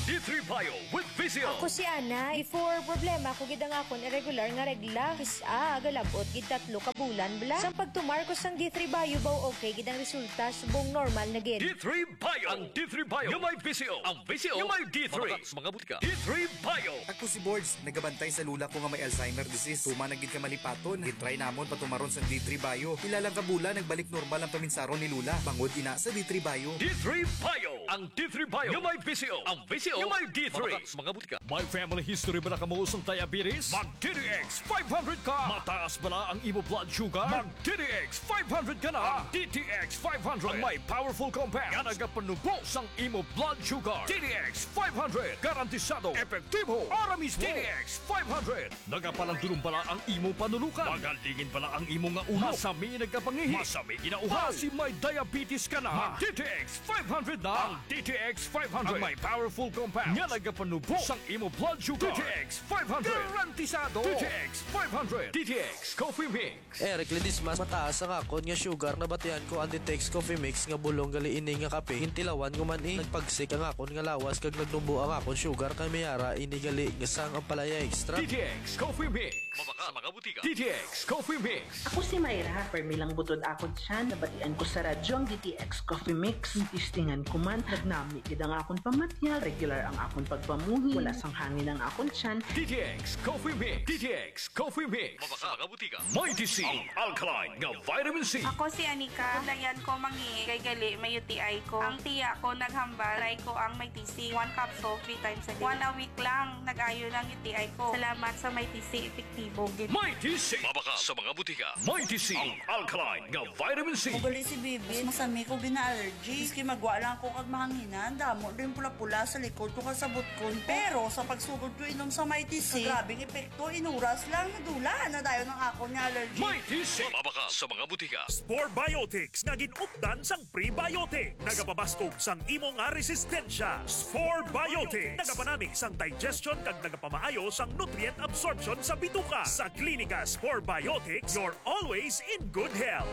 D three Bio with Visio. Ako si Ana. Before, problema ko gid ang akon irregular nga regla. Kis-a, galab-ot gid tatlo ka bulan bala. Sang pagtumar ko sang D three Bio, baw okay gid ang resulta, subong normal na gid. D three Bio. Ang D three Bio nga may Visio. Ang Visio nga may D three. Mabakal sa mga butika. D three Bio. Ako si Borge, nagabantay sa lula ko nga may Alzheimer disease. Tuman na gid ka malipaton. Gitry namon patumaron sa D three Bio. Pila lang ka bulan, nagbalik normal ang paminsaron ni lula. Bangod ina sa D three Bio. D three Bio. Ang D three Bio nga may Visio. Ang Visio nga may D three. Mabakal sa mga butika. May family history bala kamo sang diabetes? Mag D T X five hundred ka. Mataas bala ang imo blood sugar? Mag D T X five hundred ka na. Ang D T X five hundred ang may powerful compound nga nagapanubo sang imo blood sugar. D T X five hundred, garantisado, epektibo, ara mismo. D T X five hundred. Nagapalandulom bala ang imo panulukan? Magalingin bala ang imo nga ulo? Masami nagkapangihi? Masami ginauhaw? Basi may diabetes ka na? Mag D T X five hundred na. Ang D T X five hundred ang may powerful compound nga nagapanubo sang imo blood sugar. D T X five hundred. Garantisado. D T X five hundred. D T X Coffee Mix. Eric Ledesma, mataas ang akon nga sugar. Nabatian ko ang D T X Coffee Mix nga bulong gali ini nga kape. Gintilawan ko man, eh. Nagpagsik ang akon nga lawas kag nagnubo ang akon sugar, kay may ara ini gali nga sang ampalaya extra. D T X Coffee Mix. Mabakal sa mga butika. D T X Coffee Mix. Ako si Myra, permi lang butod akon tiyan. Nabatian ko sa radyo ang D T X Coffee Mix. Testingan ko man, nagnami gid ang akon pamatyag, regular ang akon pagpamuhi, wala sang hangin ang akon tiyan. D T X Coffee Mix. D T X Coffee Mix. Mabakal sa mga butika. Mighty C, ang alkaline nga vitamin C. Ako si Anika. Kulayan ko mangi kay gali may U T I ko. Ang tiya ko naghambal, try ko ang Mighty C. One capsule, three times a day. One a week lang, nag-ayo lang U T I ko. Salamat sa Mighty C, epektibo gid. Mighty C. Mabakal sa mga butika. Mighty C, ang alkaline nga vitamin C. Ugali si Bibi, masami ko gina-allergy. Maski magwa lang ako kag mahanginan, damo din pula-pula sa likod ko kag sa butkon ko. Pero sa pagsugod ko inom sa Mighty C, grabing epekto, inuras lang, nadula na dayon ang akon nga allergy. Mighty C. Mabakal sa mga butika. Spore Biotics nga gin-updan sang prebiotic. Nagapabaskog sang imo nga resistensya. Spore Biotics. Nagapanami sang digestion kag nagapamaayo sang nutrient absorption sa bituka. Sa Klinika Spore Biotics, you're always in good health.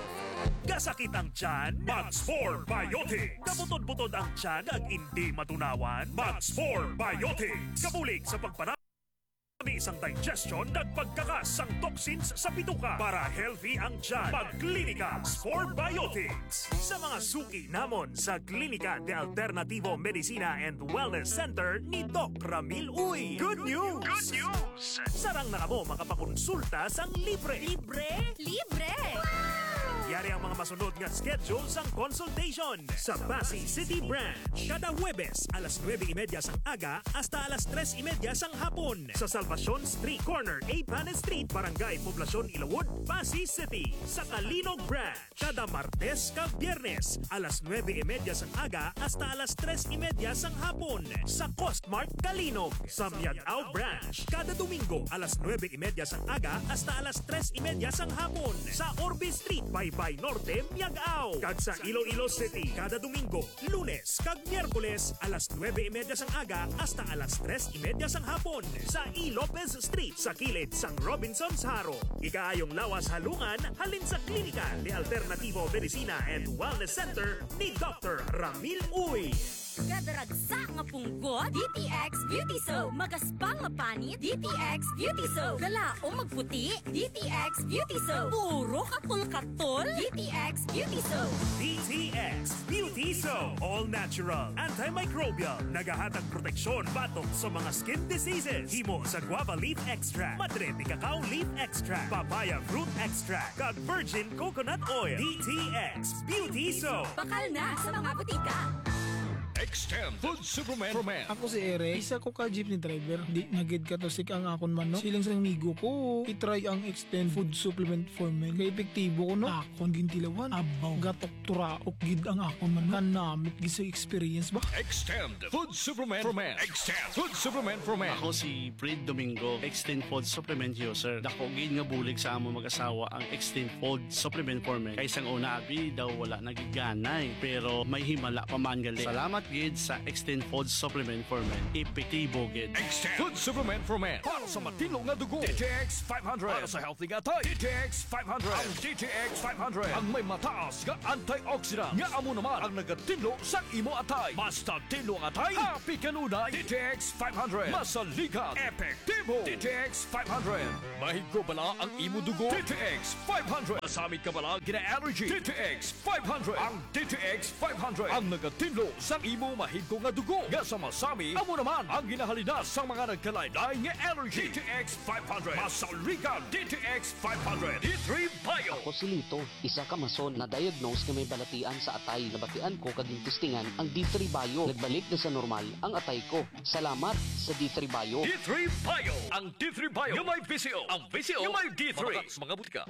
Kasakit ang tiyan? Mag Spore Biotics. Kabutod-butod ang tiyan kag indi matunawan? Mag Spore Biotics. Kabulig sa pagpanami sang digestion kag pagkakas sang toxins sa bituka para healthy ang tiyan. Mag Klinika Spore Biotics. Sa mga suki namon sa Klinika de Alternativo Medicina and Wellness Center ni Doc Ramil Uy. Good news! Good news! Sarang na kamo makapakonsulta sang libre. Libre? Libre! Yari ang mga masunod nga schedule sang consultation. Sa Passi City Branch, kada Huwebes alas nuebe y media sang aga hasta alas tres y media sang hapon. Sa Salvacion Street, corner Eighth Street, Barangay Poblacion, Ilawod, Passi City. Sa Calinog Branch, kada Martes kag Biyernes, alas nuebe y media sang aga hasta alas tres y media sang hapon, sa Costmart Calinog. Sa Miag-ao Branch, kada Domingo, alas nuebe y media sang aga hasta alas tres y media sang hapon, sa Orbe Street, Baybay Norte, Miag-ao. Kag sa Iloilo City, kada Domingo, Lunes kag Miyerkules, alas nuebe y media sang aga hasta alas tres y media sang hapon, sa E. Lopez Street, sa kilid sang Robinsons Jaro. Ikaayong lawas halungan halin sa Klinika de Alternativo Medicina and Wellness Center ni Doctor Ramil Uy. Kadaragsa nga punggot, D T X Beauty Soap. Magaspang nga panit, D T X Beauty Soap. Galaom magputi, D T X Beauty Soap. Puro katol-katol, D T X Beauty Soap. D T X Beauty Soap. All natural, antimicrobial. Nagahatag proteksyon batok sa mga skin diseases. Himo sa guava leaf extract, madre de cacao leaf extract, papaya fruit extract, kag virgin coconut oil. D T X Beauty Soap. Bakal na sa mga butika. Extend Food Supplement for Men. Ako si Eric, isa ko ka jeepney driver. Di na gid katusik ang akon manok. Siling sa amigo ko, i-try ang Extend Food Supplement for Men. Kay epektibo ko, no? Akon gintilawan. Abaw, gatok turaok gid ang akon manok. Kanamit gid sa experience ba? Extend Food Supplement for Men. Extend Food Supplement for Men. Ako si Fred Domingo, Extend Food Supplement User. Dako gid nga bulig sa amo mag-asawa ang Extend Food Supplement for Men. Kay sang una, abi daw wala nagiganay, pero may himala pa man gali. Salamat gid sa Extend Food Supplement for Men. Epektibo gid. Extend Food Supplement for Men. Para sa matinlo nga dugo, D T X five hundred. Para sa healthy nga atay, D T X five hundred. Ang D T X five hundred ang may mataas nga antioxidant nga amo naman ang nagatinlo sa imo atay. Basta tinlo ang atay, happy kanunay. D T X five hundred. Masaligan, epektibo. D T X five hundred. Mahigko bala ang imo dugo? D T X five hundred. Masami ka bala gina-allergy? D T X five hundred. Ang D T X five hundred ang nagatinlo sa imo mahigko nga dugo nga sa masami, amo naman ang ginahalinas sa mga nagkalain-lain nga allergy. D T X five hundred. Masaligan, D T X five hundred. D three Bio. Ako si Lito, isa ka mason na diagnose nga may balatian sa atay. Nabatian ko kag gintistingan ang D three Bio. Nagbalik na sa normal ang atay ko. Salamat sa D three Bio. D three Bio. Ang D three Bio nga may V C O. Ang V C O nga may D three. Mabakal sa mga butika.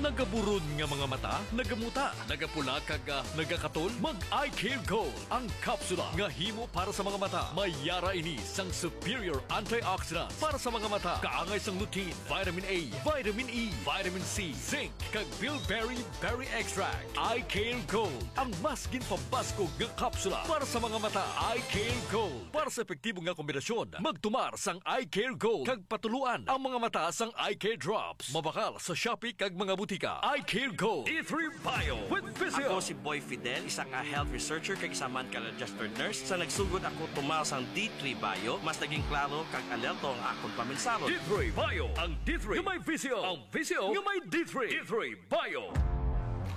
Nagaburon nga mga mata, nagamuta, nagapula kag, ah, nagakatol? Mag Eye Care Gold, ang kapsula nga himo para sa mga mata. May yara ini sang superior antioxidant para sa mga mata. Kaangay sang lutein, vitamin A, vitamin E, vitamin C, zinc, kag bilberry berry extract. Eye Care Gold, ang mas ginpabaskog nga kapsula para sa mga mata. Eye Care Gold. Para sa epektibo nga kombinasyon, magtumar sang Eye Care Gold kag patuluan ang mga mata sang Eye Care Drops. Mabakal sa Shopee kag mga butika. Eye Care Gold. D three Bio with Visio. Ako si Boy Fidel, isa ka health researcher kag isa man ka registered nurse. Sa nagsugod ako tumar sang D three Bio, mas naging klaro kag alerto ang akon pamensahon. D three Bio, ang D three nga may Visio. Ang Visio nga may D three. D three Bio.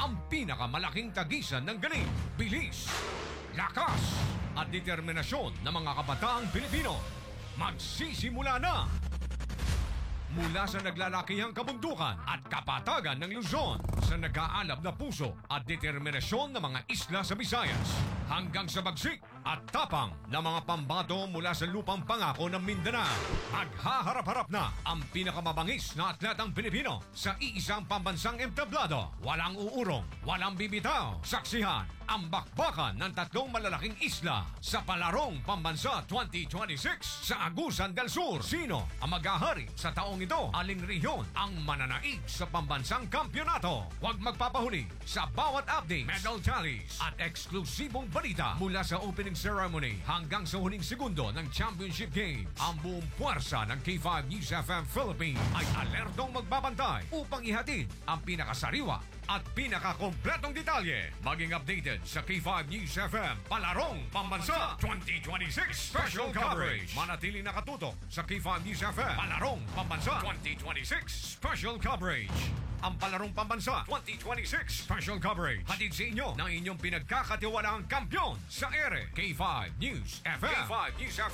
Ang pinakamalaking tagisan ng galing, bilis, lakas, at determinasyon ng mga kabataang Pilipino. Magsisimula na! Mula sa naglalakihang kabundukan at kapatagan ng Luzon, sa nag-aalab na puso at determinasyon ng mga isla sa Visayas, hanggang sa bagsik at tapang ng mga pambato mula sa lupang pangako ng Mindanao, maghaharap-harap na ang pinakamabangis na atletang Pilipino sa iisang pambansang entablado. Walang uurong, walang bibitaw. Saksihan ang bakbakan ng tatlong malalaking isla sa Palarong Pambansa twenty twenty-six sa Agusan del Sur. Sino ang maghahari sa taong ito? Aling rehiyon ang mananaig sa pambansang kampiyonato? Huwag magpapahuli sa bawat updates, medal tallies, at eksklusibong balita mula sa opening ceremony hanggang sa huling segundo ng championship games. Ang buong puwersa ng K five News F M Philippines ay alertong magbabantay upang ihatid ang pinakasariwa at pinakakompletong detalye. Maging updated sa K five News F M Palarong Pambansa twenty twenty-six Special Coverage. Manatili nakatutok sa K five News F M Palarong Pambansa twenty twenty-six Special Coverage. Ang Palarong Pambansa twenty twenty-six Special Coverage, hatid sa inyo ng inyong pinagkakatiwalaang kampiyon sa ere, K five News F M. K five News F M.